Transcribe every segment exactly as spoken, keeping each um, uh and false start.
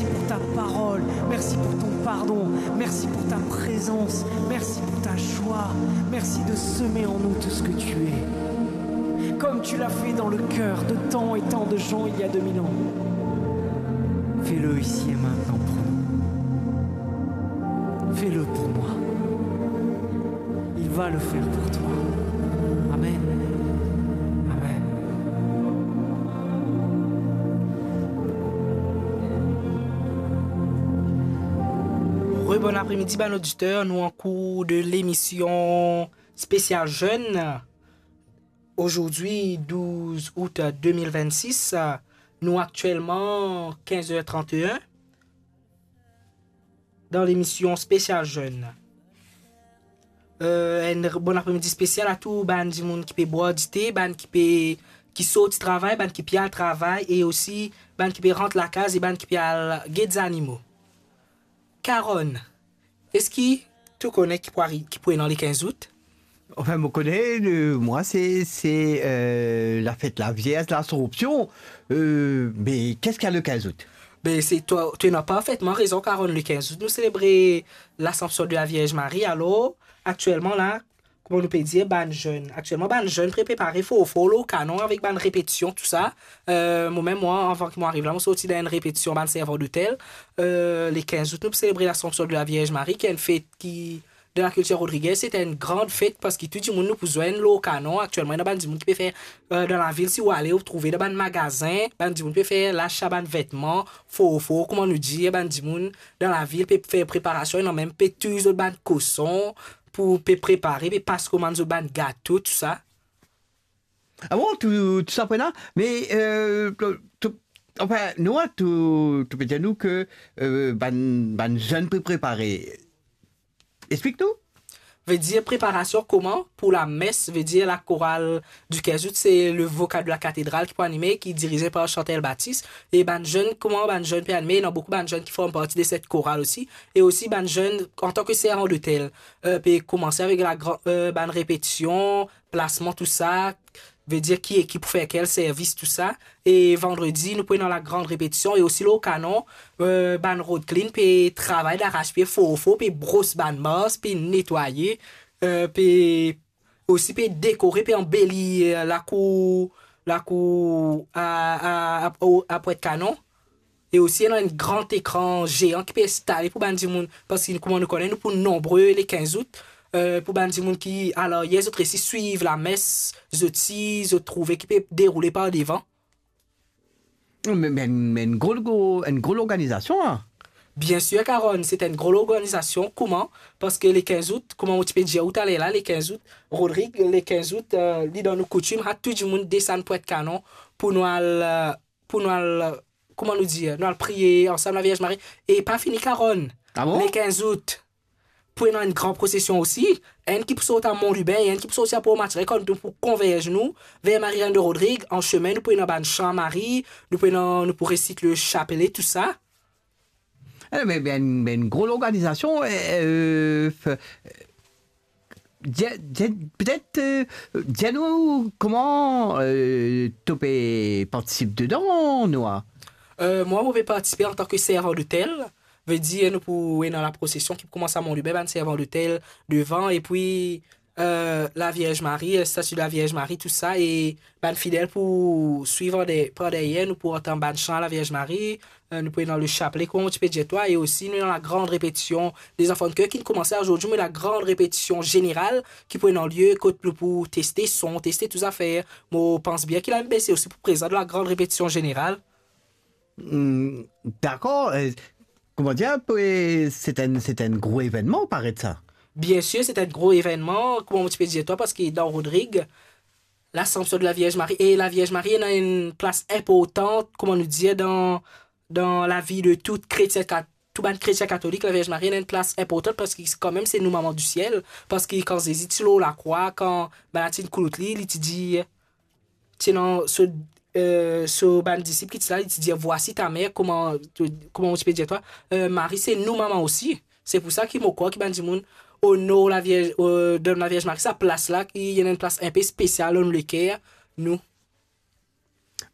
pour ta parole, merci pour ton pardon, merci pour ta présence, merci pour ta joie, merci de semer en nous tout ce que tu es. Comme tu l'as fait dans le cœur de tant et tant de gens il y a deux mille ans, fais-le ici et maintenant pour nous. Fais-le pour moi. Il va le faire pour toi. Amen. Amen. Rebon apremidi, bann oditer, nou an kour de lemision spesial zenn. Ozordi, douz out de mil vennsis, nou aktielman kinz er trant-e-enn dan lemision spesial zenn. Eh, enn r-, bon apremidi spesial a tou bann dimoun ki pe bwar dite, bann ki pe, ki sorti travay, bann ki pe al travay, e osi bann ki pe rant lakaz e bann ki pe al get zanimo. Karonn, eski to kone ki pou ari-, ki pou ena le kinz out? Enfin, mo kone, euh, mwa, se, se, euh, lafet Lavierz, Lasanpsion. Euh, me, qu'est-ce qu'il y a le quinze août? Be, se twa, to ena parfetman rezon, Karonn. Le kinz out, nou selebre Lasanpsion de la Vierge Marie. Alor, aktielman la, kouma nou pe dir, bann zenn. Aktielman, bann zenn pe prepare for for lor kanon avek bann repetision, tousa. Eh, mo mem, mwa, avan ki mo ariv la, mo sorti dan enn repetision bann servan dotel. Eh, le kinz out, nou pou selebre Lasanpsion de la Vierge Marie, ki enn fet ki, dan lakiltir rodrigez, se enn gran fet, parski tou dimoun nou pou zwenn lor kanon. Aktielman, ena bann dimoun ki pe fer, eh, dan lavil, si ou ale, ou trouve dan bann magazin, bann dimoun pe fer lasa bann vetman, for for, kouma nou dir, bann dimoun dan lavil pe fer preparasion, ena mem pe touy zot bann koson, pou pe prepare, pe pas komann zot bann gato, tousa. Ah bon, tou, tou sa pou ena? Me, euh, to, to, enfin, nou, tou, to pe dir nou ke, euh, bann, bann zenn pe prepare. Explik nou. Vedir preparasion kouma pou lames, vedir lakoral du kinz out, se le vokal de la katedral ki pou anime, ki dirize par Chantal Baptiste. E bann zenn, kouma bann zenn pe anime, ena boukou bann zenn ki form parti de set koral osi. E osi bann zenn, antan ke servan dotel, eh, pe koumanse avek la gran-, eh, bann repetision, plasman, tousa, vedir ki ekip pou fer kel servis, tousa. E vandredi, nou pou ena lagran repetision e osi lor kanon, eh, bann rod klin pe travay daras pie for for, pe bros bann mars, pe netwaye, eh, pe osi pe dekore, pe anbeli, eh, lakour, lakour a, a, a, a Pwet Kanon. E osi, ena enn gran ekran zean ki pe enstale pou bann dimoun, parski kouma nou kone, nou pou nonbre le kinz out, eh, pou bann dimoun ki, alor, yer zot resi swiv lames, zot si, zot trouve ki pe deroule par devan. Me, me, me enn gro, gro, enn gro lorganizasion, la. Biensir, Karonn, se enn gro lorganizasion. Kouma? Parski le kinz out, kouma mo ti pe dir ou taler la, le kinz out, Rodrig, le kinz out, eh, li dan nou koutim, ha, tou dimoun desann Pwet Kanon pou nou al, eh, pou nou al, kouma nou dir, nou al priye ansam Lavierz Marie. E pa fini, Karonn. Ah bon? Le kinz out, pou ena enn gran prosesion osi, enn ki pou sorti a Mont Lubin, enn ki pou sorti a Port Mathurin, kan nou pou konverz nou ver Marie-Reine de Rodrigues, an semin, nou pou ena bann san Marie, nou pou ena, nou pou resit le chapelet, tousa. Eh, me, me enn, me enn gro lorganizasion, eh, eh, f-, dir, dir, petet, eh, dir nou kouma, eh, to pe partisip dedan, Noah? Eh, mwa, mo pe partisipe antan ke servan dotel. Vedir, nou pou ena laprosesion ki pou koumans a Mont Lubin, bann servan dotel devan, epi, eh, Lavierz Marie, eh, stati Lavierz Marie, tousa, e bann fidel pou swiv an de-, par deryer, nou pou antann bann san Lavierz Marie, eh, nou pou ena le chapelet, kouma mo ti pe dir twa, e osi nou ena lagran repetision de zanfan de ker ki'nn koumanse azordi, me lagran repetision zeneral ki pou ena lie, kot nou pou teste son, teste tou zafer. Mo pans bien ki la M B C osi pou prezan dan lagran repetision zeneral. Hmm, dakor, eh, kouma dir, eh, se enn, se enn gro evennman, paret sa. Biensir, se enn gro evennman, kouma mo ti pe dir twa, parski dan Rodrig, Lasanpsion de Lavierz Marie, e Lavierz Marie ena enn plas inportan, kouma nou dir, dan, dan lavi de tou kretien kat-, tou bann kretien katolik, Lavierz Marie ena enn plas inportan, parski kanmem se nou mama di siel, parski kan Zezi ti lor lakrwa, kan bann la ti'nn koulout li, li ti dir, ti ena so, eh, so bann disip ki ti la, li ti dir, "Voici ta mère," kouma, kouma mo ti pe dir twa, eh, Marie se nou mama osi. Se pou sa ki mo krwar ki bann dimoun onor Lavierz, eh, donn Lavierz Marie sa plas la, ki ena enn plas inpe spesial dan nou leker, nou.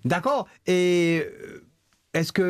Dakor. E, eh, eski